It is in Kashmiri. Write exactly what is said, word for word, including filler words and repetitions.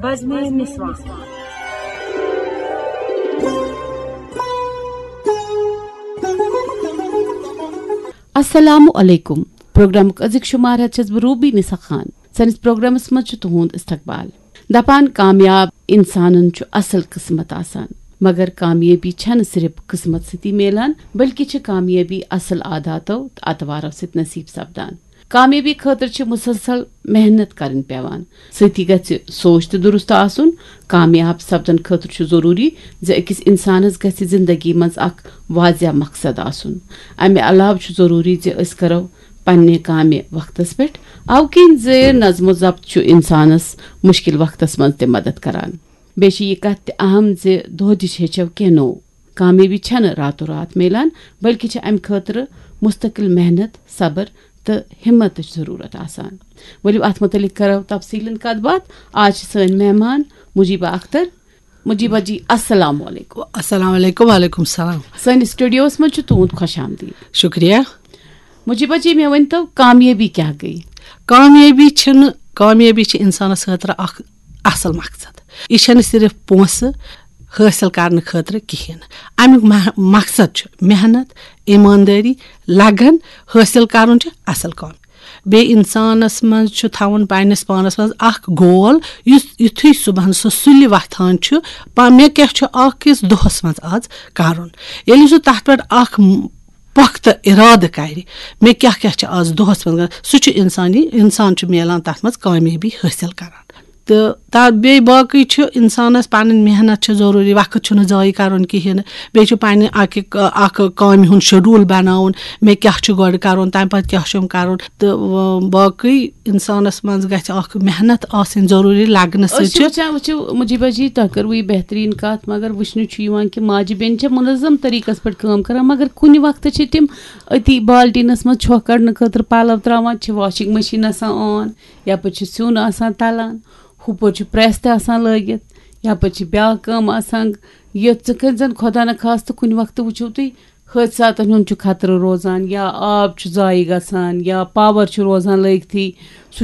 بزمِ نسوان۔ السلام علیکم۔ پروگرامُک أزیُک شمار ہٮ۪تھ چھَس بہٕ روبی نسا خان۔ سٲنِس پروگرامس منٛز چھُ تُہُنٛد استقبال۔ دپان، کامیاب انسانن چھُ اصل قسمت آسان، مگر کامیٲبی چھنہٕ صرف قسمت سۭتی میلان، بلکہِ چھِ کامیٲبی اصل عاداتو تہٕ اطوارو سۭتۍ نصیب سپدان۔ کامیٲبی خٲطرٕ چھِ مسلسل محنت کرٕنۍ پیوان۔ سۭتی گژھِ سونچ تہِ درست آسُن۔ کامیاب سپدن خٲطرٕ چھُ ضروٗری زِ أکِس انسانس گژھِ زندگی منٛز اکھ واضح مقصد آسُن۔ امہِ علاوٕ چھُ ضروٗری زِ أسۍ کرو پننہِ کامہِ وقتس پٮ۪ٹھ۔ او کِنۍ زِ نظم و ضبط چھُ انسانس مشکل وقتس منٛز تہِ مدد کران۔ بیٚیہِ چھِ یہِ کتھ تہِ اہم زِ دۄہ دِش ہیٚچھو کینٛہہ نوٚو۔ کامیٲبی چھنہٕ راتو رات میلان، بلکہِ چھِ امہِ خٲطرٕ مستقل محنت، صبر تہٕ ہمتٕچ ضروٗرت آسان۔ ؤلِو اتھ متعلق کرو تفصیلن کتھ باتھ۔ آز چھِ سٲنۍ مہمان مجیبہ اختر۔ مجیبہ جی، السلام علیکم۔ السلام علیکم۔ وعلیکم السلام۔ سٲنِس سٹوڈیوس منٛز چھُ تُہُنٛد خۄش آمدید۔ شُکریہ۔ مجیبہ جی، مےٚ ؤنۍ تو، کامیٲبی کیٛاہ گٔے؟ کامیٲبی چھِنہٕ کامیٲبی چھِ انسانس خٲطرٕ اکھ اصل مقصد۔ یہِ چھنہٕ صرف پونٛسہٕ حٲصِل کرنہٕ خٲطرٕ کِہیٖنۍ۔ امیُک مح- مقصد چھُ محنت، ایماندٲری، لگن۔ حٲصِل کرُن چھُ اصل کٲم۔ بیٚیہِ انسانس منٛز چھُ تھاوُن پننِس پانس منٛز اکھ گول، یُس یُتھُے صبحن سُہ سُلہِ وۄتھان چھُ، پا- مےٚ کیٛاہ چھُ اکھ أکِس دۄہس منٛز آز کرُن۔ ییٚلہِ سُہ تتھ پٮ۪ٹھ اکھ م- پۄختہٕ ارادٕ کرِ، مےٚ کیٛاہ کیٛاہ چھُ آز دۄہس منٛز کرُن، سُہ چھُ انسانی انسان چھُ میلان تتھ منٛز کامیٲبی حٲصِل کران۔ تہٕ تا بیٚیہِ باقٕے چھُ انسانس پنٕنۍ محنت چھِ ضروٗری، وقت چھُنہٕ ضایع کرُن کِہیٖنۍ نہٕ۔ بیٚیہِ چھُ پننہِ اکہِ ک- اکھ کامہِ ہُنٛد شیڈول بناوُن، مےٚ کیٛاہ چھُ گۄڈٕ کرُن، تمہِ پتہٕ کیٛاہ چھُم کرُن۔ تہٕ و- باقٕے انسانس منٛز گژھِ اکھ محنت آسٕنۍ ضروٗری، لگنہٕ أسۍ سۭتۍ چھِ چھُ وٕچھان، وٕچھِو مجیبہ جی، تۄہہِ کٔروٕ یہِ بہتریٖن کتھ، مگر وٕچھنہٕ چھُ یِوان کہِ ماجہِ بیٚنہِ چھےٚ منظم طریٖقس پٮ۪ٹھ کٲم کران، مگر کُنہِ وقتہٕ چھِ تِم أتی بالٹیٖنس منٛز چھۄکھ کڑنہٕ خٲطرٕ پلو تراوان، چھِ واشنگ مشیٖن آسان آن، یپٲرۍ چھُ سیُن آسان تلان، ہُپٲرۍ چھُ پریس تہِ آسان لٲگِتھ، یپٲرۍ چھِ بیاکھ کٲم آسان۔ یہِ ژٕ کٔرۍ زن خۄدا نہ خاستہٕ کُنہِ وقتہٕ وٕچھِو تُہۍ، حٲدثاتن ہُنٛد چھُ خطرٕ روزان، یا آب چھُ ضایع گژھان، یا پاور چھُ روزان لٲگتھٕے۔ سُہ